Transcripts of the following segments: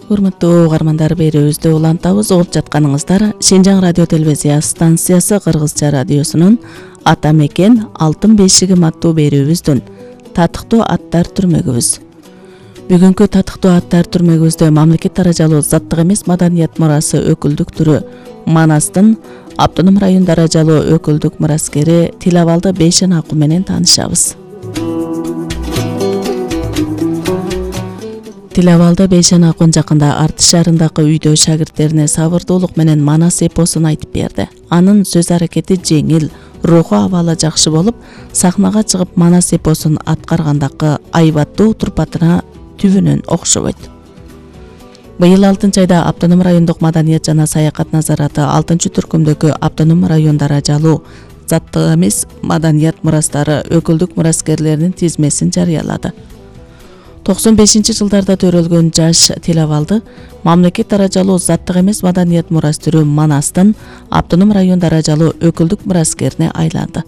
Урматтуу угармандар, берүүбүздү улантабыз. Угуп жатканыңыздар Шенжаң радио телевизия станциясы Кыргызча радиосунун Ата мекен алтын бешигим аттуу берүүбүздүн татыктуу аттар түрмөгүбүз. Бүгүнкү татыктуу аттар түрмөгүбүздө мамлекет даражалуу заттык эмес маданият мурасы өкүлдүк түрү Манастын автоном район даражалуу өкүлдүк мураскери Тилабалды Бейшен Акуу менен таанышабыз. Тилабалды Бейшен Акуу жакында Артыш шаарындагы үйдө шагирттерине сабырдуулук менен Манас эпосун айтып берди. Анын сөз аракети жеңил, руху абалы жакшы болуп, сахнага чыгып Манас эпосун аткаргандагы айбаттуу турпатына түбүнөн окшобойт. Быйыл 6-айда автоном райондук маданият жана саякат назараты 6-түркүмдөгү автоном район даражалуу заттык эмес маданият мурастары өкүлдүк мураскерлеринин тизмесин жарыялады. 95-жылдарда төрөлгөн жаш Тилабалды мамлекет даражалуу заттык эмес маданият мурас түрү Манастын автоном район даражалуу өкүлдүк мураскерине айланды.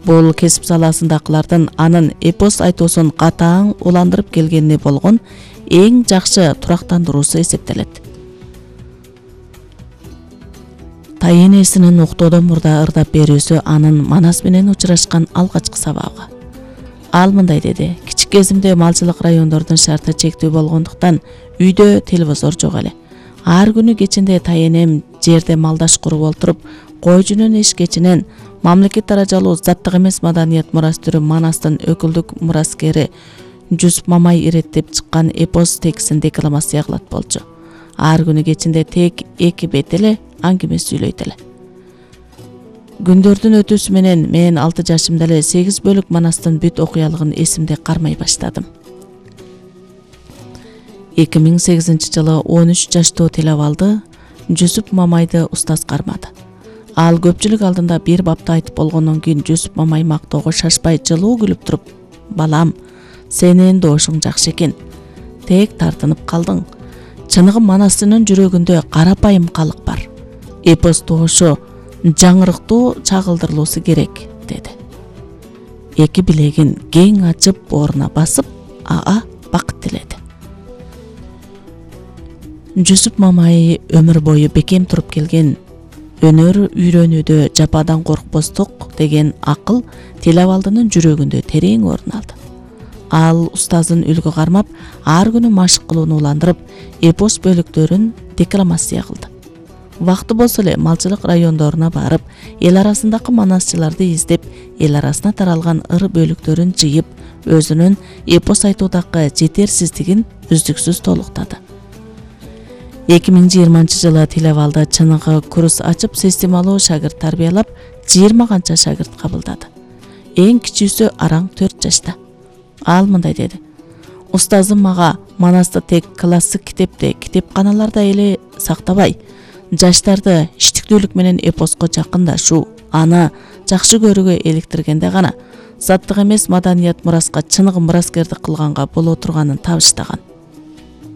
Бул кесип саласындагылардын анын эпос айтуусун катаң уландырып келгенине болгон эң жакшы турактандыруусу эсептелет. Тайенесинин уктоодон мурда ырдап берүүсү анын Манас менен учурашкан алгачкы сабагы. Ал мындай деди: кичик кезимде малчылык райондордун шарты чектүү болгондуктан үйдө телевизор жок эле. Ар күнү кечинде тайенем жерде малдаш куруп отуруп, кой жүнүн эшкечинен мамлекет даражалуу заттык эмес маданият мурас түрү Манастын өкүлдүк мураскери Жүсүп Мамай иреттеп чыккан эпос текстин декламация кылат болчу. Ар күнү кечинде тек 2 бет эле аңгеме сүйлөйт эле. Күндөрдүн өтүүсү менен мен 6 жашымда эле 8 бөлүк Манастын бүт окуялыгын эсимде кармай баштадым. 2008-жылы 13 жаштуу Тилабалды Жүсүп Мамайды устаз кармады. Ал көпчүлүк алдында бир бапты айтып болгондон кийин Жүсүп Мамай мактоого шашпай жылуу күлүп туруп: "Балам, сенин доошуң жакшы экен. Тек тартынып калдың. Чыныгы Манастынын жүрөгүндө карапайым калык бар. Эпос доошо жаңырыктуу чагылдырылуусу керек", деди. Эки билегин кең ачып бооруна басып, ага бакыт тиледи. Жүсүп Мамай өмүр бою бекем туруп келген өнөр үйрөнүүдө жападан коркпостук деген акыл Тилабалдынын жүрөгүндө терең орун алды. Ал устазын үлгү кармап, ар күнү машык кылууну уландырып, эпос бөлүктөрүн декламация кылды. Вакты болсо эле малчылык райондоруна барып, эл арасындагы манасчыларды издеп, эл арасына таралган ыр бөлүктөрүн жыйып, өзүнүн эпос айтуудагы жетерсиздигин үздүксүз толуктады. 2020-жылы Тилабалды чыныгы курс ачып, системалуу шагырт тарбиялап, 20 канча шагырт кабылдады. Эң кичүүсү араң 4 жашта. Ал мындай деди: "Устазым мага Манасты тек классик китепте, китепканаларда эле сактабай, жаштарды иштиктүүлүк менен эпоско жакындашуу, аны жакшы көрүүгө иликтиргенде гана заттык эмес маданият мураска чыныгы мураскердик кылганга боло турганын табыштаган.